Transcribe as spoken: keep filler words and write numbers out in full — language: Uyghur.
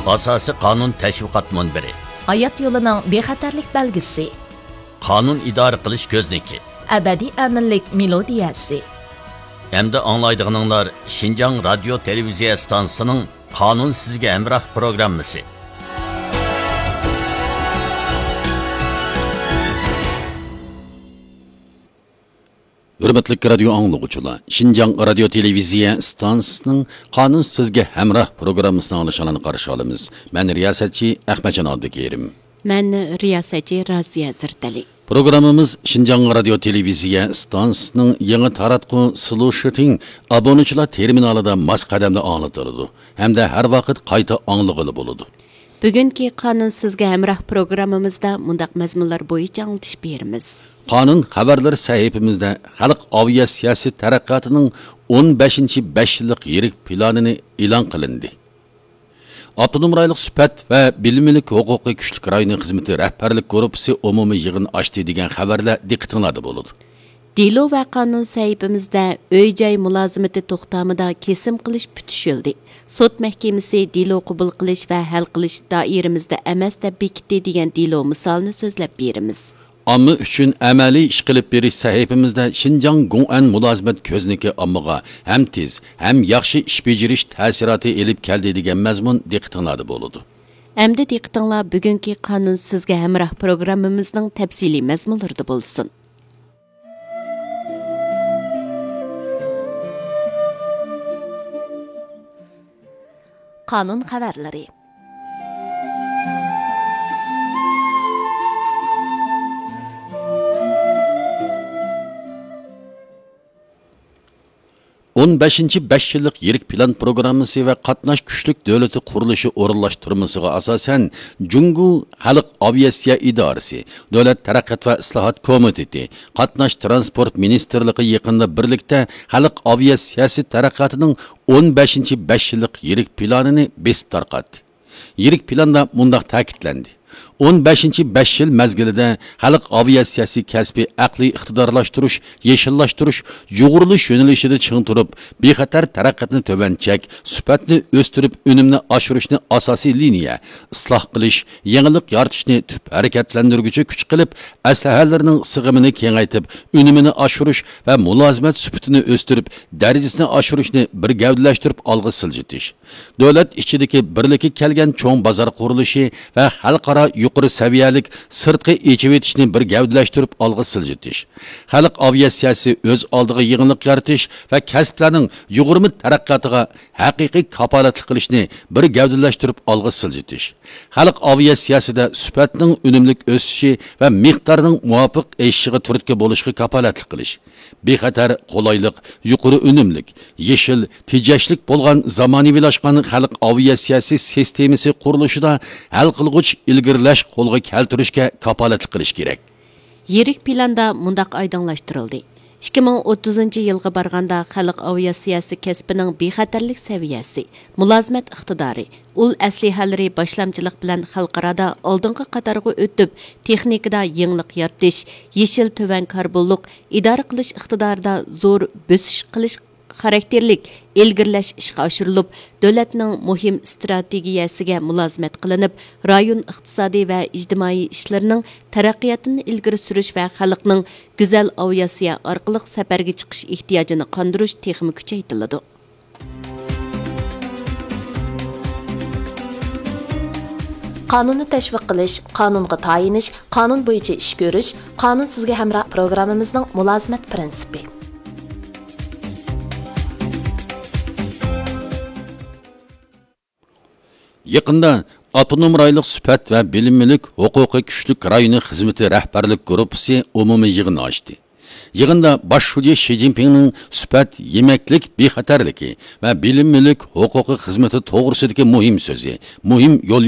ئاساسىي قانۇن تەشۋىقات مۇنبىرى. ھايات يولىنىڭ بىخەتەرلىك بەلگىسى. قانۇن ئىدارە قىلىش كۆزنىكى. ئەبەدىي ئەمىنلىك مېلودىيەسى. ئەمدى ئاڭلايدىغىنىڭلار شىنجاڭ رادىيو تېلېۋىزىيە ئىستانسىسىنىڭ قانۇن سىزگە ھەمراھ پروگراممىسى. ھۆرمەتلىك رادىيو ئاڭلىغۇچىلار، شىنجاڭ رادىيو تېلېۋىزىيە ئىستانسىسىنىڭ قانۇن سىزگە ھەمراھ پروگراممىسىنى ئاڭلىشىڭلارنى قارشى ئالىمىز. مەن رىياسەتچى ئەخمەتجان ئابدۇكېرىم. مەن رىياسەتچى رازىيە زەردەلى. پروگراممىمىز شىنجاڭ رادىيو تېلېۋىزىيە ئىستانسىسىنىڭ يېڭى تاراتقۇ سلۇشىتىڭ ئابۇنىچىلار تېرمىنالىدا ماس قەدەمدە ئاڭلىتىلىدۇ ھەمدە ھەر ۋاقىت قايتا ئاڭلىغىلى بولىدۇ. بۈگۈنكى قانۇن سىزگە ھەمراھ پروگراممىمىزدا مۇنداق مەزمۇنلار بويىچە ئاڭلىتىش بېرىمىز. قانۇن خەۋەرلىرى سەھىپىمىزدە خەلق ئاۋىياتسىياسىي تەرەققىياتىنىڭ ئون بەشىنچى بەش يىللىق يىرىك پىلانىنى ئېلان قىلىندى. ئاپتونوم رايونلۇق سۈپەت ۋە بىلىملىك ھوقۇقى كۈچلۈك رايونى خىزمىتى رەھبەرلىك گۇرۇپپىسى ئومۇمىي يىغىن ئاچتى دېگەن خەۋەرلەر دىققىتىڭلاردا بولىدۇ. دېلو ۋە قانۇن سەھىپىمىزدە ئۆي جاي مۇلازىمىتى توختامىدا كېسىم قىلىش پۈتۈشۈلدى. سوت مەھكىمىسى دېلو قوبۇل قىلىش ۋە ھەل قىلىش دائىرىمىزدە ئەمەس دەپ بېكىتتى دېگەن دېلو مىسالىنى سۆزلەپ بېرىمىز. ئامما ئۈچۈن ئەمەلىي ئىش قىلىپ بېرىش سەھىپىمىزدە شىنجاڭ گوڭئەن مۇلازىمەت كۆزنىكى ئاممىغا ھەم تېز، ھەم ياخشى ئىش بېجىرىش تەسىراتى ئېلىپ كەلدى دېگەن مەزمۇن دىققىتىڭلاردا بولىدۇ. ئەمدى دىققىتىڭلار بۈگۈنكى قانۇن سىزگە ھەمراھ پروگراممىمىزنىڭ تەپسىلىي مەزمۇنلىرىدا بولسۇن. قانۇن خەۋەرلىرى. ئون بەشىنچى بەش يىللىق يىرىك پىلان پروگراممىسى ۋە قاتناش كۈچلۈك دۆلىتى قۇرۇلۇشى ئورۇنلاشتۇرمىسىغا ئاساسەن، جۇڭگو خەلق ئاۋىئاتسىيە ئىدارىسى، دۆلەت تەرەققىيات ۋە ئىسلاھات كومىتېتى، قاتناش تىرانسپورت مىنىستىرلىقى يېقىندا بىرلىكتە خەلق ئاۋىئاتسىيەسى تەرەققىياتىنىڭ ئون بەشىنچى بەش يىللىق يىرىك پىلانىنى بېسىپ تارقاتتى. يىرىك پىلاندا مۇنداق تەكىتلەندى: ئون بەشىنچى بەش يىل مەزگىلىدە خەلق ئاۋىئاتسىيەسى كەسپى ئەقلىي ئىقتىدارلاشتۇرۇش، يېشىللاشتۇرۇش، يۇغۇرۇلۇش يۆنىلىشىدە چىڭ تۇرۇپ، بىخەتەر تەرەققىياتنى تۆۋەن چەك، سۈپەتنى ئۆستۈرۈپ، ئۈنۈمنى ئاشۇرۇشنى ئاساسىي لىنىيە، ئىسلاھ قىلىش، يېڭىلىق يارىتىشنى تۈپ ھەرىكەتلەندۈرگۈچى كۈچ قىلىپ، ئەسلىھەلىرىنىڭ سىغىمىنى كېڭەيتىپ، ئۈنۈمىنى ئاشۇرۇش ۋە مۇلازىمەت سۈپىتىنى ئۆستۈرۈپ، دەرىجىسىنى ئاشۇرۇشنى بىر گەۋدىلەشتۈرۈپ ئالغا سىلجىتىش. دۆلەت ئىچىدىكى بىرلىككە كەلگەن چوڭ بازار قۇرۇلۇشى ۋە خەلقئارا يۇقىرى سەۋىيەلىك سىرتقى ئېچىۋېتىشنى بىر گەۋدىلەشتۈرۈپ ئالغا سىلجىتىش. خەلق ئاۋىئاتسىيەسى ئۆز ئالدىغا يېڭىلىق يارىتىش ۋە كەسىپلەرنىڭ يۇغۇرما تەرەققىياتىغا ھەقىقىي كاپالەتلىك قىلىشنى بىر گەۋدىلەشتۈرۈپ ئالغا سىلجىتىش. خەلق ئاۋىئاتسىيەسىدە سۈپەتنىڭ ئۈنۈملۈك ئۆسۈشى ۋە مىقدارنىڭ مۇۋاپىق ئېشىشىغا تۈرتكە بولۇشقا كاپالەتلىك قىلىش. بىخەتەر، قولايلىق، يۇقىرى ئۈنۈملۈك، يېشىل، تېجەشلىك بولغان زامانىۋىلاشقان خەلق ئاۋىئاتسىيەسى سىستېمىسى قۇرۇلۇشىدا ھەل قىلغۇچ ئىلگىرىلەش قولغا كەلتۈرۈشكە كاپالەتلىك قىلىش كېرەك. يىرىك پىلاندا مۇنداق ئايدىڭلاشتۇرۇلدى: ئىككى مىڭ ئوتتۇزىنچى يىلغا بارغاندا خەلق ئاۋىئاتسىيەسى كەسپىنىڭ بىخەتەرلىك سەۋىيەسى، مۇلازىمەت ئىقتىدارى، ئۇل ئەسلىھەلىرى باشلامچىلىق بىلەن خەلقئارادا ئالدىنقى قاتارغا ئۆتۈپ، تېخنىكىدا يېڭىلىق يارىتىش، يېشىل تۆۋەن كاربونلۇق، ئىدارە قىلىش ئىقتىدارىدا زور بۆسۈش قىلىش خاراكتېرلىك ئىلگىرىلەش ئىشقا ئاشۇرۇلۇپ، دۆلەتنىڭ مۇھىم ئىستراتېگىيەسىگە مۇلازىمەت قىلىنىپ، رايون ئىقتىسادىي ۋە ئىجتىمائىي ئىشلىرىنىڭ تەرەققىياتىنى ئىلگىرى سۈرۈش ۋە خەلقنىڭ گۈزەل ئاۋىئاتسىيە ئارقىلىق سەپەرگە چىقىش ئېھتىياجىنى قاندۇرۇش تېخىمۇ كۈچەيتىلىدۇ. قانۇننى تەشۋىق قىلىش، قانۇنغا تايىنىش، قانۇن بويىچە ئىش كۆرۈش، قانۇن سىزگە ھەمراھ پروگراممىمىزنىڭ مۇلازىمەت پىرىنسىپى. يېقىندا ئاپتونوم رايونلۇق سۈپەت ۋە بىلىملىك ھوقۇقى كۈچلۈك رايونى خىزمىتى رەھبەرلىك گۇرۇپپىسى ئومۇمىي يىغىنى ئاچتى. يىغىندا باش شۇجى شى جىنپىڭنىڭ سۈپەت يېمەكلىك بىخەتەرلىكى ۋە بىلىملىك ھوقۇقى خىزمىتى توغرىسىدىكى مۇھىم سۆزى، مۇھىم يول